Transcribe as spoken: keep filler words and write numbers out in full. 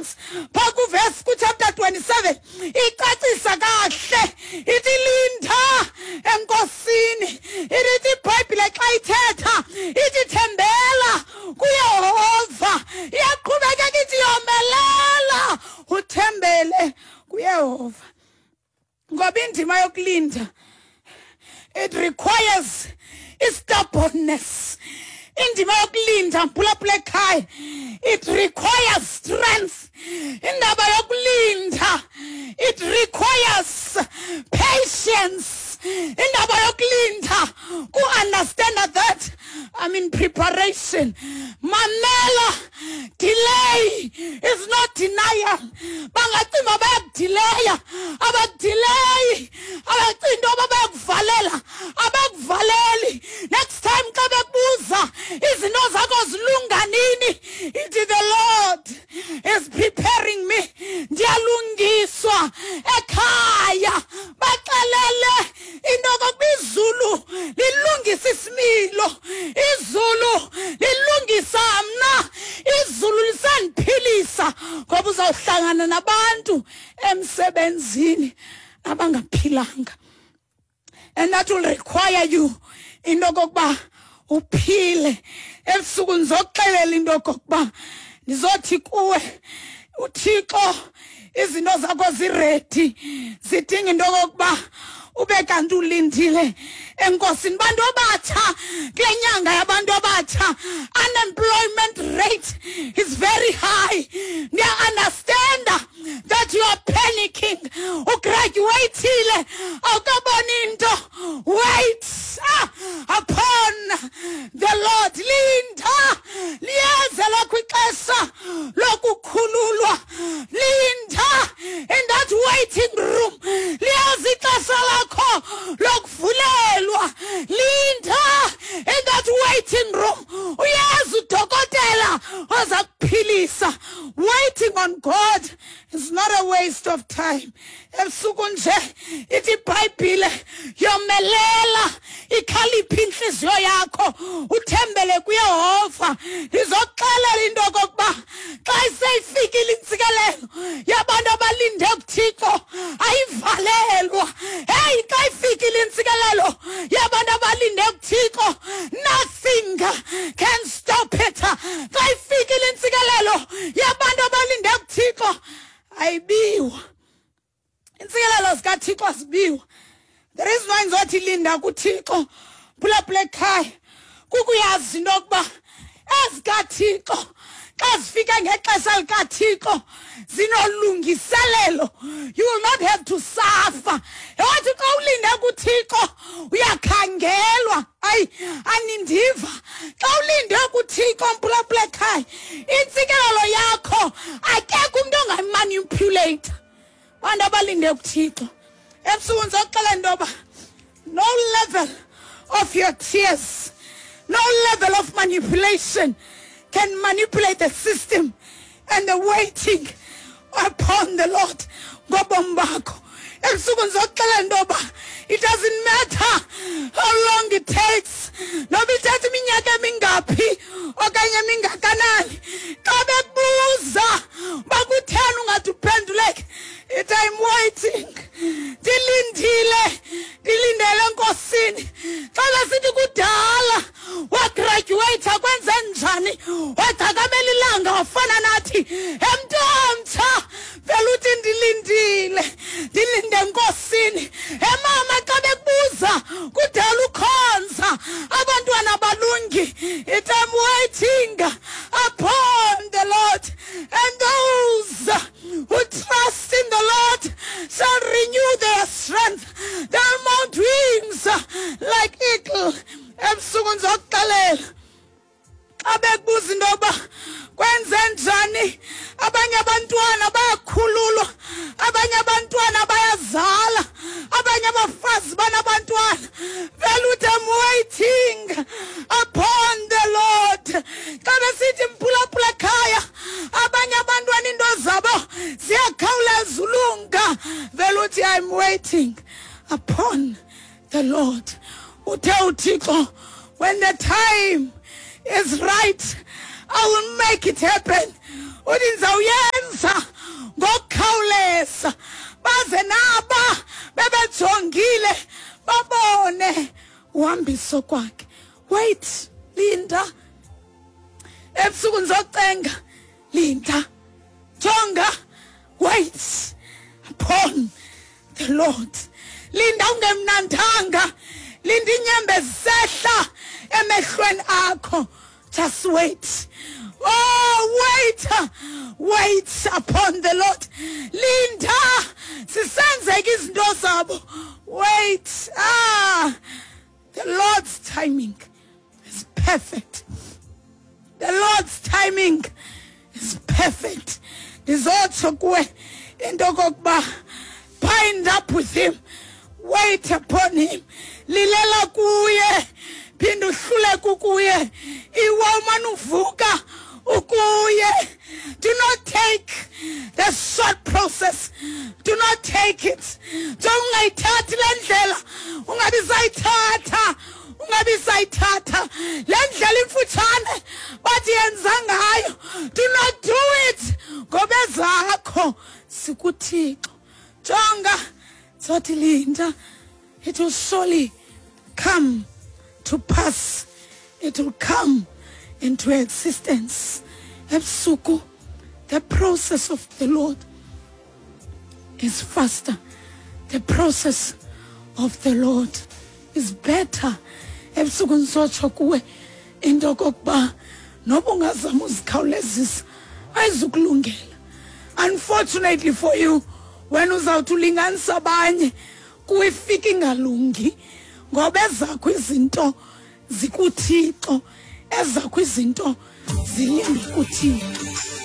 Psalms phaa kuvesi kuchapter twenty-seven icacisa kahle, ithi linda enkosini. Ithi iBhayibhile xa ithetha ithi thembela kuYehova, iyaqhubekeka ithi yomelela uthembele kuYehova. Ngoba indima yokulinda, it requires stubbornness. Indima yokulinda, mphulaphula ekhaya, it requires strength. Indaba yokulinda, it requires patience. Indaba yokulinda ku-understand that I'm in preparation. Mamela, delay is not denial. Bangacimba bayakudileya, abakudileyi, abacinga into yoba bayakuvalela, abakuvaleli. Next time xa bekubuza izinto zakho zilunga nini, ithi the Lord is preparing me, ndiyalungiswa ekhaya. Baxelele into yokokuba izulu lilungisa isimilo, izulu lilungisa mna, izulu lisandiphilisa. Ngoba uzawuhlangana nabantu emsebenzini abangaphilanga, and that will require you into yokokuba uphile. Ebusuku ndizokuxelela into yokokuba ndizothi kuwe, uThixo izinto zakho ziready, zidinga into yokokuba ube kanti ulindile enkosini. Bantu abatsha, kule nyanga yabantu abatsha, unemployment rate is very high. Ndiya-understanda that you are panicking. Ugraduatile, awukaboni into. Wait ah, upon the Lord. Linda, liyeza lakho ixesha lokukhululwa. Linda in that waiting room, liyeza ixesha lakho lokuvulelwa. Linda in that waiting room, uyeza udokotela oza kuphilisa. Waiting on God is not a waste of time. Ebusuku nje ithi iBhayibhile, yomelela ikhaliphe inhliziyo yakho, uthembele kuYehova. Ndizokuxelela into yokokuba xa iseyifikile intsikelelo yabantu abalinde kuThixo ayivalelwa. Hey, xa ifikile intsikelelo yabantu abalinde kuThixo, nothing can stop it. Xa ifikile intsikelelo yabantu abalinde kuThixo ayibiwa. Intsikelelo zikaThixo azibiwa. The reason why ndizothi linda kuThixo, phulaphula ekhaya, kukuyazi into yokuba ezikaThixo xa zifika ngexesha likaThixo zinolungiselelo. You will not have to suffer. Wathi xa ulinde kuThixo uyakhangelwa. Ayi, anindiva. Xa ulinde kuThixo, mphulaphula ekhaya, intsikelelo yakho akekho umntu ongayimanipulate. Bantu abalinde kuThixo, ebusuku ndizokuxelela into yoba no level of your tears, no level of manipulation can manipulate the system and the waiting upon the Lord ngobomi bakho. Ebusuku ndizokuxelela into yoba it doesn't matter how long it takes, noba ithatha iminyaka emingaphi okanye emingakanani. Xa bekubuza uba kutheni ungathi uphenduleke, ithi I'm waiting, ndilindile, ndilindele enkosini. Xa besithi kudala wagraduate, kwenze njani, wagcakamela ilanga wafana nathi, emntu omtsha, vele uthi ndilindile, ndilinde enkosini. Emama, xa bekubuza kudala ukhonza abantwana balungi, ithi I'm waiting upon the Lord. And those who trust in the Lord shall renew their strength. They'll mount wings like eagle. Ebusuku ndizokuxelela, xa bekubuza into yoba kwenze njani, abanye abantwana bayakhululwa, abanye abantwana bayazala, abanye abafazi banabantwana, vele uthi I'm waiting upon the Lord. Xa besithi mphulaphula ekhaya, abanye abantwana into zabo ziyakhawuleza ulunga, vele uthi I'm waiting upon the Lord. Uthe uThixo, when the time is right, I will make it happen. Uthi ndizawuyenza. Ngokukhawuleza baze naba bebejongile babone uhambiso kwakhe. Wait, linda. Ebusuku ndizocenga, linda, jonga, wait upon the Lord. Linda ungemnandanga, linda inyembezi sehla emehlweni akho. Just wait. Oh, wait, wait upon the Lord. Linda, sisenzeka izinto zabo. Wait. Ah, the Lord's timing is perfect. The Lord's timing is perfect. Ndizotsho kuwe into okokuba bind up with him, wait upon him, lilela kuye, phinde uhluleke kuye, iwa umane uvuka ukuye. Do not take the short process. Do not take it. Ungayithathi le ndlela, ungabi sayithatha, ungabi sayithatha le ndlela imfutshane bathi yenza ngayo. Do not do it, ngoba ezakho sikuThixo. Jonga, sothi linda, it will surely come to pass. It will come into existence. Ebusuku, the process of the Lord is faster. The process of the Lord is better. Ebusuku ndizotsho kuwe into okokuba noba ungazama uzikhawulezisa ayizukulungela. Unfortunately for you, wena uzawuthi ulinganisa abanye kuwe ifika ingalungi, ngoba ezakho izinto zikuThixo, ezakho izinto zilinde kuThixo.